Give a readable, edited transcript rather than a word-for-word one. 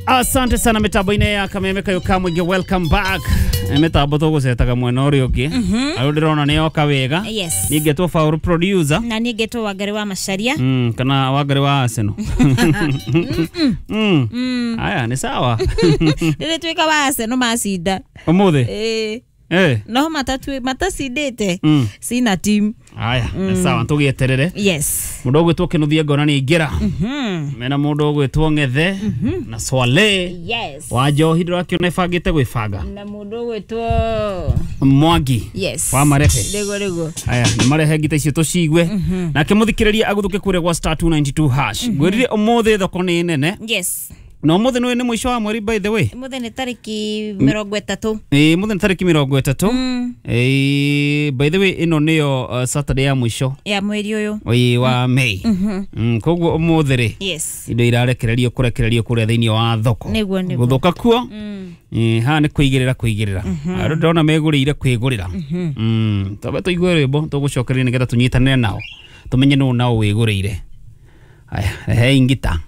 Asante sana mitambo-inĩ ya Kameme Kayo ka Mũingĩ, welcome back. Mitambo tũgũcetaga mwena ũrĩa ũngĩ arĩa ndĩrona nĩ yoka wega. Yes. Niĩ ngetwo Faulu producer. Na niĩ ngetwo Wangari wa Macharia. Kana Wangari wa Arsenal. Aya, nĩ sawa. Rĩrĩ tuĩka wa Arsenal macinda. Ũmũthĩ. Ĩĩ. Eh. No matacindĩte sina team. Aya, nĩ sawa, tũgĩeterere. Yes. Mũndũ ũgwĩtwo Kĩnuthia ngona nĩ aingĩra. Mena mũndũ ũgwĩtwo Ng'ethe na Swale Yes. wa Njohi, ndĩrakĩona ĩbangĩte gwĩbanga. Na mũndũ ũgwĩtwo Mwangi Yes. wa Marehe. Rĩguo rĩguo. Aya, nĩ marehe ngita icio tũcigue. Nake mũthikĩrĩria agũthũke kũrĩa gwa *292#. Ngwĩrire ũmũthĩ thoko nĩ nene. Yes. Na ũmũthĩ nĩ mũico wa mweri, by the way. Mũthĩ nĩ tarĩki 30. Ĩĩ, mũthĩ nĩ tarĩki 30. Ĩĩ, by the way, ĩno nĩyo Saturday ya mũico ya mweri ũyũ. Ĩĩ, wa May. Koguo ũmũthĩ rĩ, Yes. indo irarekererio kũrekererio kũrĩa thĩinĩ wa thoko. Nĩguo, nĩguo. Gũthũka kuo. Ĩĩ, haha nĩ kũigĩrĩra kũigĩrĩra. Andũ ndĩrona megũrĩire kwĩgũrĩra. Twambe tũigue rwĩmbo tũgũcokereria nĩgetha tũnyitanĩre nao tũmenye nũ nao wĩgũrĩire. Aya, rehei ngita.